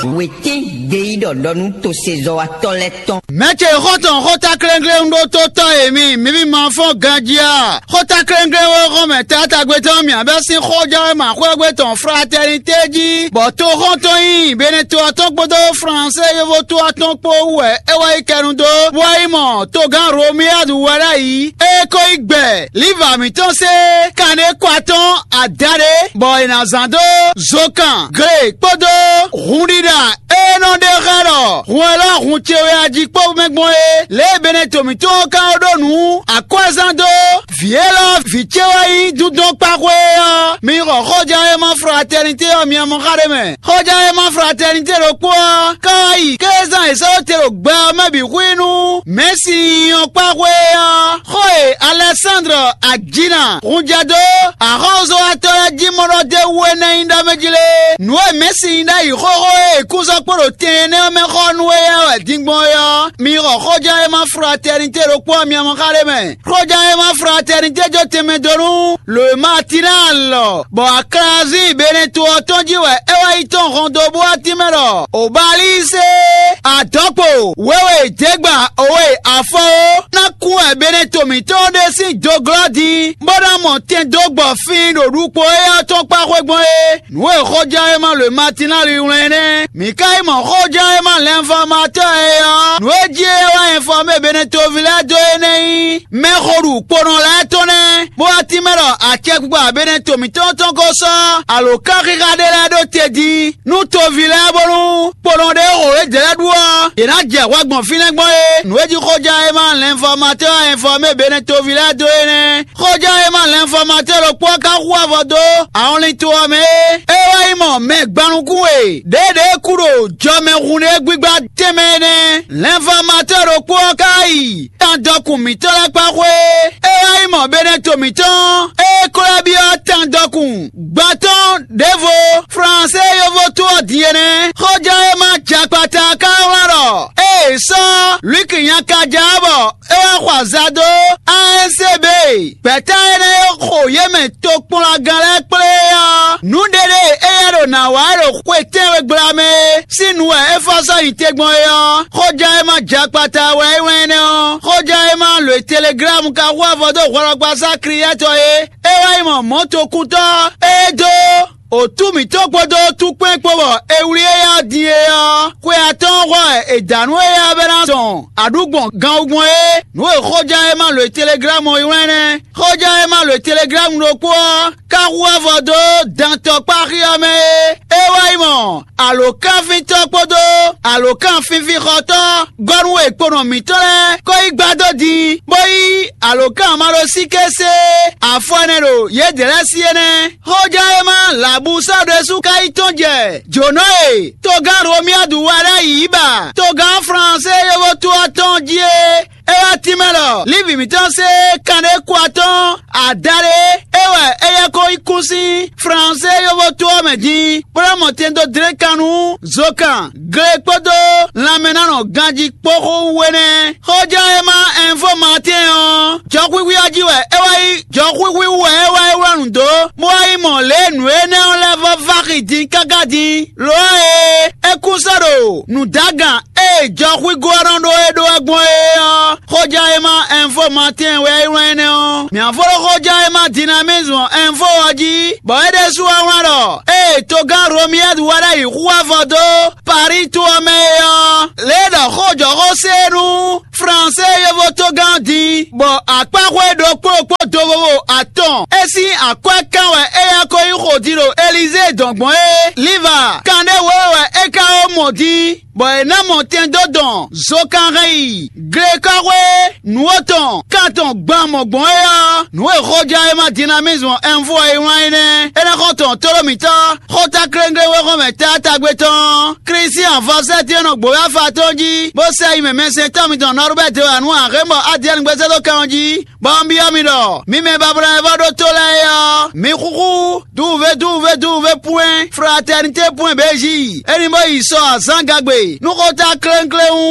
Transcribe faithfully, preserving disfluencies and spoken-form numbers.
Wětín gbeyíɖɔ ɖɔ nú tosezɔ́watɔ́ lɛ́ɛ tɔn. Mɛ̌ ce xɔ́ntɔn xótáklɛ́nglɛ́n ɖótótɔ́ e mi, mi bí ma fɔ́n ganjí a? Xótáklɛ́nglɛ́n wɛ xɔ́n mɛ taátagbe tɔn mì abɛ́ sín xɔjánwéma xwégbé tɔn Fratɛnité jí, bɔ toxɔ́ntɔn nyí Benɛto ɔ́ tɔn kpódó Fransé yovo to ɔ́ tɔn kpó wú wɛ é wá yi kɛnu dó, bó wá yi mɔ togán Romiyadu wɛ ɖ'ayǐ. É ko yi gbɛ Liva mǐtɔn se kanɖé kɔ atɔ́n adaɖé, bɔ è nǎ zán dó zokan, gle kpódó hunɖiɖa e nɔ ɖe xá ɖɔ hun élɔ́ hun ce wɛ a jí kpó mɛ gbɔn é. Lě e Benɛto mǐtɔn ɔ́ ka ɖó nǔ akwɛ́zán dó vǐ élɔ́ vǐ ce wɛ nyí dundɔn kpáxwé é ɔ́, mi xɔ xɔján e ma Fratɛnité ɔ́ mi mɔ xá ɖé mɛ. Xɔján e ma Fratɛnité ɖokpó ɔ́ ka wá yi kézán è sɔ́ te ɖo gbɛ ɔ́ mɛ bǐ xwí nú Mɛ̌si ɔ́ kpáxwé é ɔ́, xó e Alɛsándlɔ Ajina hun jɛ dó axɔ́súzɔ́watɔ́ lɛ́ɛ jí mɔ ɖɔ d'é wú é nɛ́ nyí ɖɔ mɛ jí lé. Nǔ e Mɛ̌si nyí ɖ'ayǐ xóxó e è kú sɔ́ kpo ɖo tɛn énɛ́ ɔ́ mɛ xɔ nú éyɛ́ wɛ din gbɔn é ɔ́, mi xɔ xɔján e ma Fratɛnité ɖokpó ɔ́ mi mɔ xá ɖé mɛ. Xɔján e ma Fratɛnité jó tɛnmɛ dó nú Lǒmatina lɔ, bɔ aklazín Benɛto ɔ́ tɔn jí wɛ é wá yi tɔn hɔn dó bó wá tínmɛ ɖɔ Obalíse, adɔ̌kpo, wěwe, jěgba, owe, afɔ ó, ná kú wɛ Benɛto mǐtɔn ɖé sín doglɔ́ din, bó ná mɔ tɛn dó gbɔ fin ɖo ɖukpo éyɛ́ ɔ́ tɔn kpá xwé gbɔn é. Nǔ e xɔjánwéma Lǒmatina li wlɛ́n nɛ́. Mǐ ka yi mɔ xɔjánwéma lɛnfɔmatɔ́ e ɔ́, nǔ e jí é wá ɛnfɔmé Benɛtoví lɛ́ɛ dó é nɛ́ nyí mɛxoɖu kponɔ lɛ́ɛ tɔn nɛ́, bó wá tínmɛ ɖɔ acɛkpikpa Benɛto mǐtɔn tɔn ko sɔ́ alǒkanxixa ɖé lɛ́ɛ ɖó te din nú toví lɛ́ɛ, bónú kponɔ ɖé xo yědɛɛ lɛ́ɛ ɖu ɔ́, yě ná jɛ hwɛ gbɔn fínɛ́ gbɔn é. Nǔ e jí xɔjánwéma lɛnfɔmatɔ́ ɛnfɔmé Benɛtoví lɛ́ɛ dó é nɛ́. Xɔján e ma lɛnfɔmatɔ́ ɖokpó ɔ́ ka hu avɔ dó awɔnlin to ɔ́ mɛ é. É wá yi mɔ mɛ gban nukún e ɖěɖě kú ɖo jɔmɛhunɖé gbígbá tɛnmɛ é nɛ́. Lɛnfɔmatɔ́ ɖokpó ɔ́ ka yi tandɔkun mǐtɔn lɛ́ɛ kpá xwé. É wá yi mɔ Benɛto mǐtɔn, é ko lɛ́ byɔ́ tandɔkun gban tɔn ɖěvo. Fransé yovo to ɔ́ din é nɛ́. Xɔján e ma jɛ akpata ka wlán ɖɔ ée sɔ́ Luiki nyakája ɔ́ bɔ é wá xɔ azǎ dó A N C B. Gbɛ̌ta énɛ́ e xo yě mɛ tokpɔnlagán lɛ́ɛ kplé ɔ́, nǔɖé ɖé e éyɛ́ ɖo nǎ wa wɛ ɖo xwe tɛ́nwe gbla mɛ é sín nu wɛ é fɔ sɔ́ nyi te gbɔn é ɔ́, xɔján e ma jɛ akpata wɛ é wlɛ́n énɛ́ ɔ́. Xɔján e ma lǒ e Teleglámu ka hu avɔ dó hwlɔkpasá Kliyɛ́tɔ é, é wá yi mɔ mɔ̌tokúntɔ́ e dó Otú mǐtɔn kpódó túkpɛn kpó bɔ è wlí éyá din é ɔ́, xwe atɔ́ɔ́n hwɛ wɛ è dǎ nú éyá bɛ́ ná dɔn aɖǔgbɔn ganwugbɔn é. Nǔ e xɔján e ma lǒ e Teleglámu ɔ́ ylɔ́ ɛnɛ́. Xɔján e ma lǒ e Teleglámu ɖokpó ɔ́ ka hu avɔ dó dantɔkpáxi ɔ́ mɛ é. É wá yi mɔ alǒkanfíntɔ́ kpódó alǒkanfínfínxɔtɔ́ gɔ́ nú wěkponɔ mǐtɔn lɛ́ɛ kó yi gbá dó din, bó yí alǒkanmaɖósíké se afɔ ɛnɛ ɖo yědɛɛ lɛ́ɛ sí é nɛ́. Xɔján e ma Labusá ɖésú ka yi tɔ́n jɛ jǒnɔ e togán Romiyadu wa lɛ́ɛ yǐ ba togán Fransé yovo to ɔ́ tɔn jí é. É wá tínmɛ ɖɔ Lívi mǐtɔn se kanɖé kú atɔ́ɔ́n adaɖé é wɛ éyɛ́ ko yi kún sín Fransé yovo to ɔ́ mɛ din, bó ná mɔ tɛn dó dlé kan nú zokan, gle kpódó lanmɛnánɔ ganjí kpó xó wú é nɛ́. Xɔján e ma ɛnfó Maatɛ́n ɔ́, jɔxwíxwí ɔ́ jí wɛ é wá yi. Jɔxwíxwí wú wɛ é wá yi wlán nǔ dó, bó wá yi mɔ lě e nǔ énɛ́ ɔ́ lɛ́ vɔ́ vá xi din káká din. Lo ɔ́ e é kún sɔ́ ɖo nǔdágan e jɔxwígó ɔ́ nɔ ɖó é ɖó wɛ gbɔn é ɔ́, xɔján e ma ɛnfó Maatɛ́n wɛ é wlán énɛ́ ɔ́. Mǐ ná fó ɖó xɔján e ma Dinamizmu ɛnfó ɔ́ jí, bɔ é ɖésú wá wlán ɖɔ: Ée togán Romiyɛ́du wá ɖ'ayǐ xú avɔ dó Paríi to ɔ́ mɛ é ɔ́, lě e ɖɔ xójɔxó se nú Fransé yovo togán ɔ́ din, bɔ akpáxwé ɖokpó ɖokpó do vovo atɔn é sín akwɛ́ kán wɛ éyɛ́ ko yí xo din ɖo Elizée dɔn gbɔn é. Liva kanɖé wěwe wɛ é ka ó mɔ din, bɔ è nǎ mɔ tɛn dó dɔn zokanhɛn yi glekɔ́xwé nǔ atɔn kan tɔn gban mɔ̌ gbɔn é ɔ́, nǔ e xɔján e ma Dinamizmu ɛnfo e wlán é nɛ́. É nɛ́ xɔ tɔn tlóló mǐtɔn xɔ́táklɛ́nglɛ́n wexɔ́mɛ taátagbe tɔn Klísian Vɔsɛ́ti e nɔ gbǒ wɛ afa tɔn jí, bó sɛ yi mɛ mɛsɛntɔ́ mitɔn Nɔrubɛ́ti wɛ nú Ahémɔ Adiyɛ́ɛn gbɛsɛ́dókan ɔ́ jí, bɔ un byɔ́ mi ɖɔ: Mi mɛ bablɔ́ e vɔ́ ɖótó lɛ́ɛ é ɔ́, mi xúxú duwuvé duwuvé duwuvé pwɛ́n fratɛnité pwɛ́n bějí, é ní bó yi sɔ azǎngagbe nú xótáklɛ́nklɛ́n wú.